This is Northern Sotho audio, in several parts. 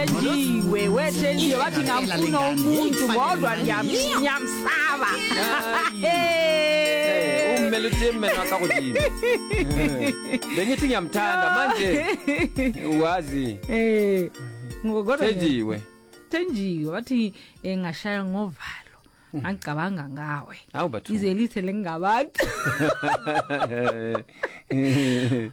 Thenjiwe, we Thenjiwe bathi ngamfuna umuntu kodwa ngiyamsaba. Eh, o mmeletse mmeno wa ka godimo bengithi ngiyamthanda manje wazi Eh, kodwa Thenjiwe Thenjiwe bathi eh, ngashaya ngovalo. Ngicabanga ngawe. Hawu bathu. Ize lithe lengabantu.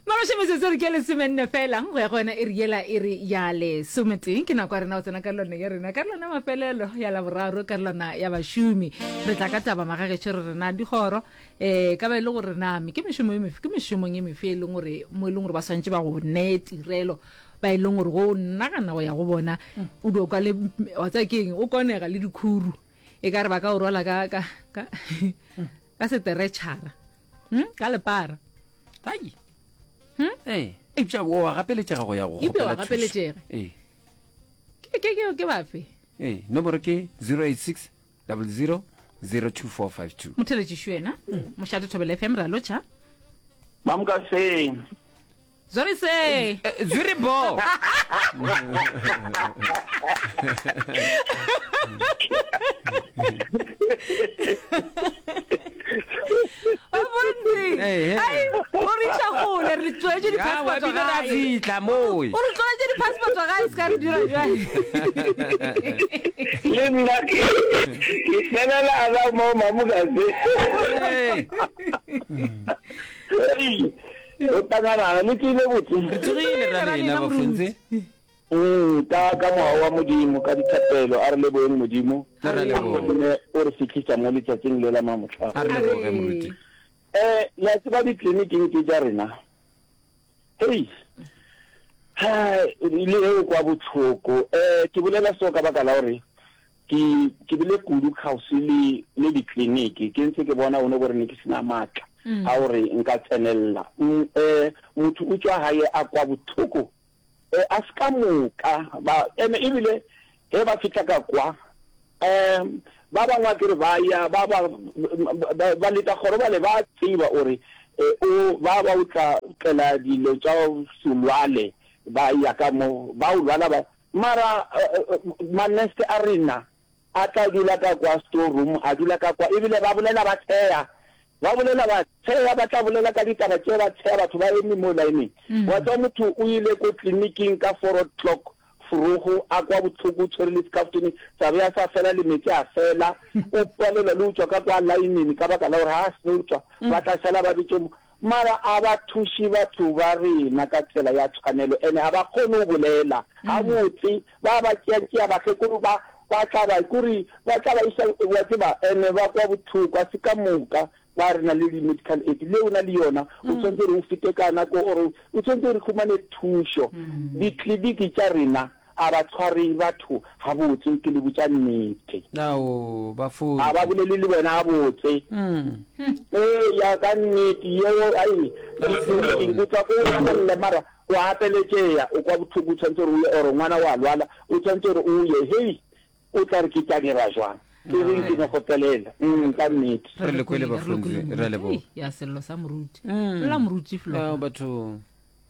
Maroše metsotso re ke lesomenne fela go ya go yona e re yela e re ya lesometeng ke nako ya rena go tsena karolwana ya rena karolwana ya mafelelo ya laboraro karolwana ya bašomi re tla ka taba magagešo re rena dikgoro um ka ba e le gore name ke mešomo e mefe ke mešomong e mefe e leng gore mo e leng gore ba swantše ba go neye tirelo ba e leng gore go nagana go ya go bona o dio kwa le wa tseba ke eng o konega le dikhuru e ka re ba ka o rwala ka ka ka ka seteretšhara hmm? ka lepara Ai. Hmm? Ee. Eupša o a gapeletšega go ya go Eupša wa kgopela thušo. gapeletšega. Ee. ke ke ke ke bafe Ee, nomoro ke 086 00 02452. motheletšišo yena mošate thobela fm ra lotšha Mamkaseng. Zori se. Eh, Zuri bo. Bontsi. Hey, hey. Ai, o re iša kgole re tloetše Ya, wa di-passport bile ra gae. fihla moe. O re tloetše di-passport gae se ka re dira jwang. Le nna ke ke felela la mo mamukase. Hey. Hey. O tanganana le tsile botse. Re tsogile ra lena bafontse. Mm, ka ka moya wa Modimo ka dithapelo a re leboheng Modimo. A re lebohe. Gonne o re fihlisa mo letšatšing le la mamohla. A re leboge moruti. Eh, le a tseba ditleliniking tše tša rena. Hei. Hai, le ge o kwa bohloko. Eh, ke bolela so ka baka la gore Ke, ke bile kudu kgauswi le, le dikliniki, ke ntse ke bona one gore ne ke se na maatla a gore nka tsenelela. Mm, eh, motho o tšwa gae a kwa bohloko, eh, a se ka moka ba, ene ebile ge ba fihla ka kwa, eh, ba bangwe a ke re ba ya, ba, ba, ba, ba leta kgoro bale ba tseba gore, eh, o, ba ba o tla tlela dilo tša se lwale, ba ya ka mo, ba o lwala ba, Mara manurse a rena a tla dula ka kwa store room, a dula ka kwa, ebile ba bolela ba tsheya, ba bolela ba tsheya, ba tla bolela ka ditaba tše ba tsheya, batho ba eme mo line-eng. Wa tseba motho o ile ko tleliniking ka four o'clock forogo, a kwa bohloko, o tshwere le sekaftene, sa be a sa fela le meetse a fela, o palelwa le go tšwa ka kwa line-eng ka baka la gore ga a seno tšwa, ba tla šala ba bitše Mara a ba thuše batho ba rena ka tsela ya tshwanelo ene ga ba kgone go bolela gabotse, ba ba tšeatšea bakgekolo ba ba tla ba kore ba tla ba iša wa tseba ene ba kwa bohloko a se ka moka ba re na le di medical aid le o na le yona o tshwanetse gore o fete ka nako or o tshwanetse gore humane thušo ditleliniki tša rena A ba tshware batho gabotse, ke le botša nnete. Ao, ba fotse. A ba bolele le wena gabotse. Ee, ya ka nnete, yeo, ai, o tswa ko o lle mara o gapeletšea, o kwa bohloko, o tshwanetse gore o ye, or ngwana wa lwala, o tshwanetse gore o ye, hei, o tla re ke tla dira jwang? E reng ke no kgopelela, mm, ka nnete. Re le kwele bafunzi, re a leboga. Ya sello sa moruti. La moruti flo. Ao batho.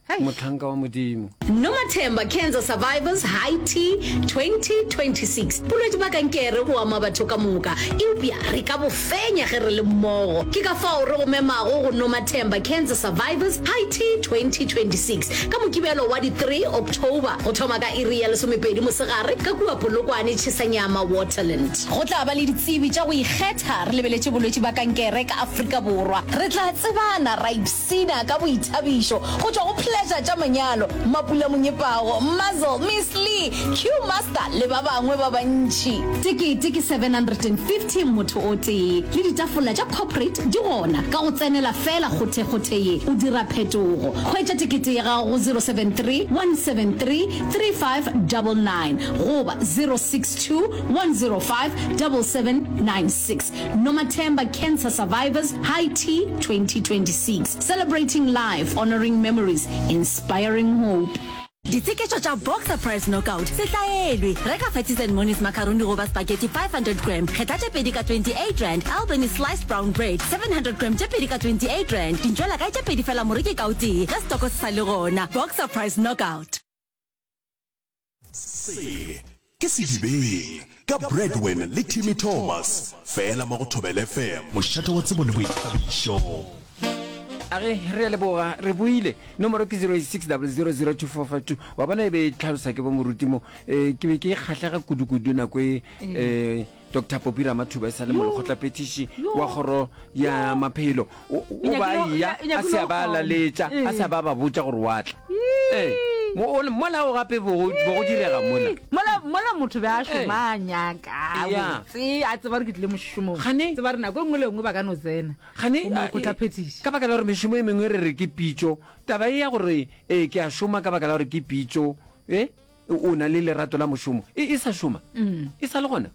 Mohlanka wa Modimo. Nomathemba Cancer Survivors High Tea 2026. Bolwetši bja kankere bo ama batho ka moka, eupša re ka bo fenya ge re le mmogo. Ke ka fao re go memago go Nomathemba Cancer Survivors High Tea 2026 ka Mokibelo wa di 3 October go thoma ka iri ya lesomepedi mosegare ka kua Polokwane Tšhesanyama Waterland. Go tla ba le ditsebi tša go ikgetha re lebeletše bolwetši bja kankere ka Afrika Borwa. Re tla tsebana ra Sina ka boithabišo go tšwa go Pleasure tša manyalo, Mapula Monyepago, Muzzle, Miss Lee, Q Master le ba bangwe ba bantši. Tekete ke 750 motho o tee, le ditafola tša corporate di gona. Ka go tsenela feela kgothekgothe ye, o dira phetogo. Hwetša tekete ya gago go 073 173 3599 goba 062 105 7796. Nomathemba Cancer Survivors High Tea 2026, Celebrating Life, Honouring Memories, Inspiring Hope. Ditsheketšo tša Boxer Price Knockout se tlaelwe. Reka Fatties and Monies macaroni goba spaghetti 500 gram, kgetha tše pedi ka R28, Albany Sliced Brown Bread 700 gram tše pedi ka R28, dintšwelakae tše pedi fela moreki ka o tee ge setoko se sa le gona. Boxer Price Knockout. Se ke Sedibeng ka Bradwin le Timmy Thomas, fela mo go Thobela FM. Mošate wa tsebo le boithabišo. A re, Re a leboga, re boile. Nomoro ke 0860002452. Wa bona e be e tlhalosa ke bo moruti mo. Eh, ke be ke kgahlega kudu-kudu nako e eh, Doctor Popi Ramathuba e sa le molekgotlaphethiši wa kgoro ya maphelo. O o ba eya a se a ba laletša, a se a ba ba botša gore wa tla. Ee, mola o gape bo go direga mola. Mola mola motho be a šoma a nyaka botse a tseba gore ke tlile mošomong. Gane tseba gore nako e nngwe le e nngwe ba ka no tsena. Gane molekgotlaphethiši. Ka baka la gore mešomo e mengwe re re ke pitšo, taba e ya gore ee ke a šoma ka baka la gore ke pitšo, e o na le lerato la mošomo, e e sa šoma? E sa le gona?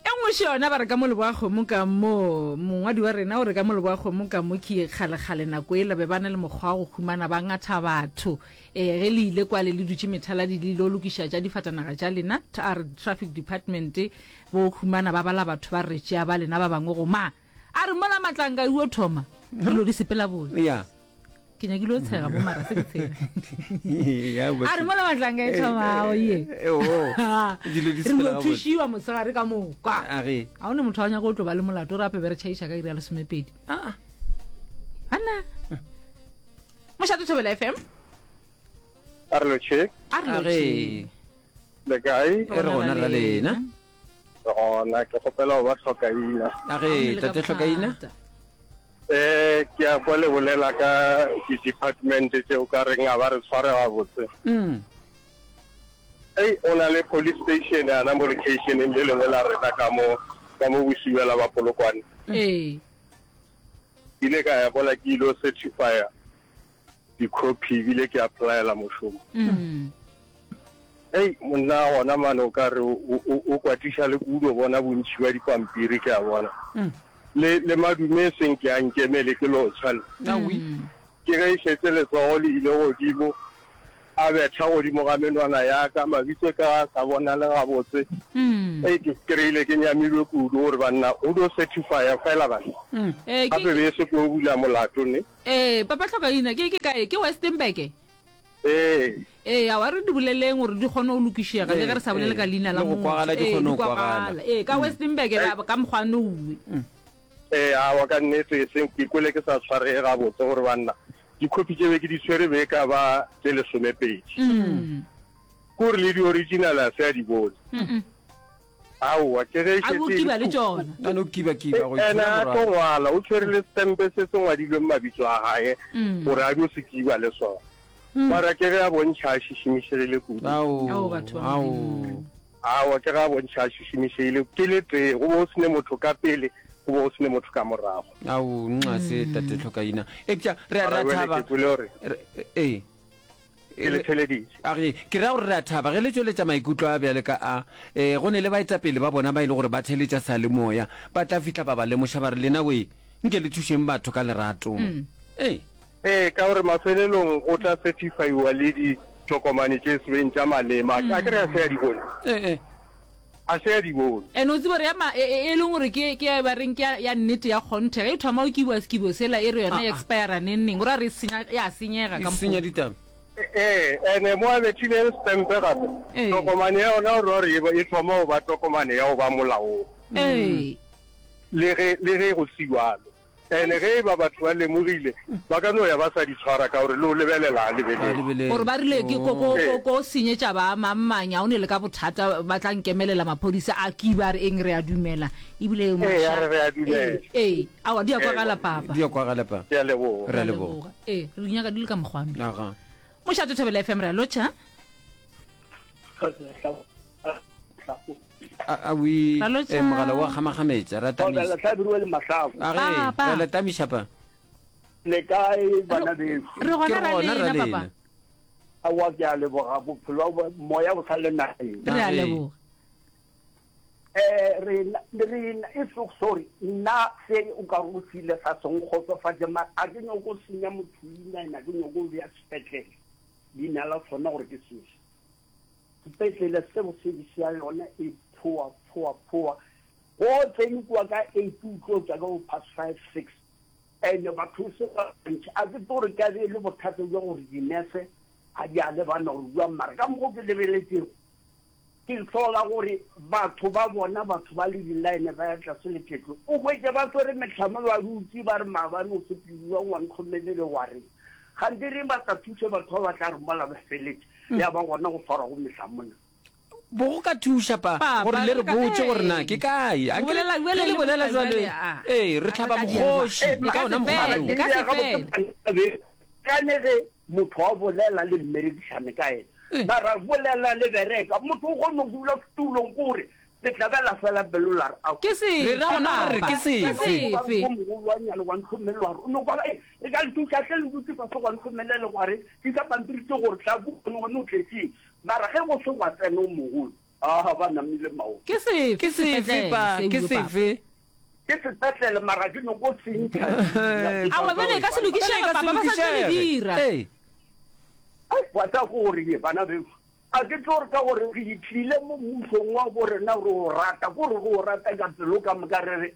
E nngwe še yona ba re ka mo Leboakgomo ka mo, mongwadi wa rena o re ka mo Leboakgomo ka mo ke kgalekgale nako ela be ba na le mokgwa wa go humana ba ngatha batho. E, ge le ile kwale le dutše methaladi le ilo lokiša tša difatanaga tša lena, a re traffic department bo humana ba bala batho ba re tšea ba lena ba bangwe go ma. A re mola matlanka uo thoma dilo di sepela botse. Yeah. Ke nyakile o tshega mo mara se ke tshega. A re mola matlanka e thoma o ye. Dilo di Re sepela no gabotse. thušiwa mosegare ka moka. A re. A o ne motho wa nyaka o tlo ba le molato re ape be re tšhaiša ka iri ya lesomepedi. Ah. Ana. Mošate Thobela FM. A re lotšhe. A re A re. lotšhe. Le kae? E re gona ra lena. Re gona, ke kgopela go ba hlokaina. A re tate hlokaina. Eh, ke a kwa le bolela ka di-department tše o ka reng a ba re tshware gabotse. Mm. Ei, o na le police station yana mo locationeng le lengwe la rena ka mo ka mo Bosibela ba Polokwane. Ee. Ke ile ka ya mola ke ilo certifya di-copy ebile ke applyela mošomo. Mm. Ei, monna gona mane o ka re o, o, o kwatiša le kudu o bona bontši bja dipampiri ke a bona. Mm. Le, le madume e seng ke a nkemele ke lotšha le. Awi. Ke ge e šetše letsogo le ile godimo, a betha godimo ga menwana ya ka, mabitso ka a sa bonale gabotse. Mm. Ei, ke kry-ile ke nyamilwe kudu gore banna o dio certifya fela banna. Eh, ke, Gape be e se ko bula molato ne. eh, Papa Hlokaina, ke, ke kae? Ke Westenburg? Ee. Ee, aowa re di boleleng gore di kgone go lokišega, le ge re sa bolele ka leina la Le go motho. kwagala di Ee, kgone di go kwagala. kwagala. Ee, ka Westenburg ba ka mokgwa nowe. Ee, aowa ka nnete e seng ke kwele ke sa tshwarege gabotse gore banna dikhopi tše be ke di tshwere be e ka ba tše lesomepedi. Ke gore le di-original a se a di bone. Aowa, ke ge e A šetše bo e le kiba le phupu. tšona. A no kiba-kiba go Ene itshwara a tlo morago. ngwala, o tshwere le setempe se se ngwadilweng mabitso a gae gore a dio se kiba le sona. Mara ke ge a bontšha a šišimišegile kudu. Ao, Ao, batho ba ao. Modimo. Aowa, ke ge a bontšha a šišimišegile. Ke le tee, go be go se ne motho ka pele, go be go se ne motho ka morago. Ao, nxa se tate Tlhokaina. Eupša re a re Mara a bjale thaba. ke kwele gore Re- Ee. Ke le theleditše. A re, Ke ra gore re a thaba ge le tšweletša maikutlo a bjale ka a. Ee, go ne le baetapele ba bona ba e le gore ba theletša seyalemoya. Ba tla fihla ba ba lemoša ba re, Lena wee, nke le thušeng batho ka lerato. Ee. Ee, ka gore mafelelong go tla certifaiwa le ditokomane tše sebeng tša malema. A ke re a se a di bone? Ee. A se a di bone. And o tsebe gore ya ma, e, e, e leng gore ke, ke ya ba reng ke ya, ya nnete ya kgonthe. Ge e thoma go kibiwa sekibo sela e re yona e expire neng neng, go ra re e senya, ya senyega E ka senya mokgwa. ditaba. Ee, ene mo a bethileng setempe gape, Ee. tokomane ya yona o ra gore e ba, e thoma go ba tokomane ya go ba molaong. Ee. Le ge, le ge go se bjalo. Ene ge e ba batho ba lemogile, ba ka no ya ba sa di tshwara ka gore le o lebelela a lebelele. Gore ba rile ke ko, ko, ko, ko senyetša ba mang-mang, a o ne le ka bothata, ba tla nkemelela maphodisa a kiba, a re eng, re a dumela. Ebile Ee, a maša. re re a dumela. Ee, ee, aowa, di a kwagala, papa. Di a kwagala, papa. Ke a leboga. Re a leboga. Ee, re di nyaka di le ka mokgwa me. Aga. Mošate Thobela FM, re a lotšha. A, a wi, Ra lotšha. eh, mogala wa gamagametša, ra tamisa. Thobela Hlabirwa le Mahlako. A ge, Papa. ra le tamiša pa. Le kae bana beso? Re Ke gona ra gona ra lena, papa. lena. Aowa ke a leboga bophelo ba moya bo sa le nageng. Re a Age. leboga. Eh rena rena e so sorry nna se o ka go file sa se nkgotsofatše mara a ke nyoko senya motho leina ena ke nyoko bea sepetlele leina la sona gore ke sefe. Sepetlele seo service ya yona e poor, poor, poor. Go tsene kua ka eight o tlo tšwa ka bo past five, six. And batho se ba bantši. A ke tlo re ka be e le bothata bja gore dinese. ga di a lebana gore bjang mara ka mokgo ke lebeletšego ke hlola gore batho ba bona batho ba le di-line ba ya tlase le phetlo o hwetše ba swere mehlamo ba dutse ba re maabane o sepediwa wa ntlhomelele wa reng gante reng ba sa thuše batho ba ba tla re mola ba feletše ya ba gona go swarwa go mehlamona Bo go ka thuša pa Papa, gore le re re ka- botše gore na ee. ke kae. Go Akere bolela ge bjale le le bolela bolela jwale, bjale, a. ee, re A re hlaba ka dira mokgoši jwang? E ka ka ona se mokgwa fele, wo. e ka se fele. Kane ge motho a bolela le mmerekišane ka ena Ee. mara bolela le bereka motho o kgone go dula setulong kore le tlabela fela pelo la re ao. Ke sefe, Re ra gona gore Papa? ke Ke sefe? sefe? Ko mogolwanyane wa ntlhomelelo wa re o no kwa e re ka le thuša hle le dutse fase gwa ntlhomelele gwa re tlisa pampiri tse gore tla bone gone o tletseng Mara ge go se gwa tsena o mogolo, aa, ba namile maoto. Ke sefe Ke sefe, sepetlele pa? seo, Ke Papa? sefe? Ke sepetlele, mara ke nyoko se ntšha leina. Aowa, bjale e ka se Bjale e lokišege, ka se Papa, ba sa tlo le lokišege. dira. Ee. Ai, wa tseba ke gore ye, bana bešo, a ke tlo re ka gore re tlile mo mmušong wa bo rena re o rata, ke gore re o rata ka pelo ka moka re re,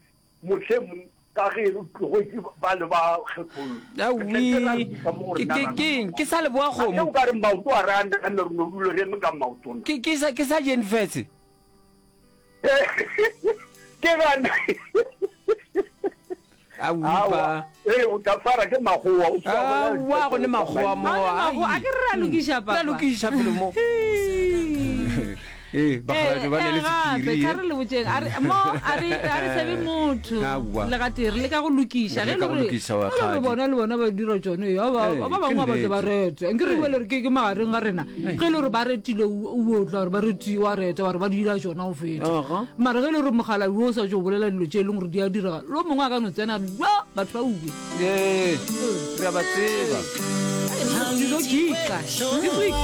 Mohlomong ka ge re tlogetše bale ba kgethollo, re tla ke ra Aowi, lokiša mo go ke, rena ke, ra ke eng? nama. Ke sa leboa A ke kgomo. o ka re maoto a re a name re no dula re eme ka maoto na? Ke, ke sa, ke sa jeng fetse. Ke gana. Aowi, Aowa, pa. ee, o tla swara ke makgowa, o se wa bolela Aowa, go ne makgowa mo. Ga go ne makgowa. A ke re re a lokiša, Re a Papa. lokiša felo mo. Ee, bakgalabje ba ne le Eh, gape sephiri. tla re le botšeng a re mo a re a re sebe motho Aowa. le gatee re leka go lokiša Re ge leka go le gore lokiša, wa ge le gore kgadi. bona le bona ba dira tšone ya ba Ee, ba ke bangwe ba batle ba nnete. rete nke re bue le re ke ke magareng ga rena ge e le gore ba retile o o tla gore ba reti wa reta wa re ba dira tšona go feta Aha. mara ge e le gore mogala wo o sa tšo bolela dilo tše e leng gore di a direga lo mongwe a ka no tsena a re, "Yo, batho ba uwe Ee, re a ba tseba. dilo kika this week.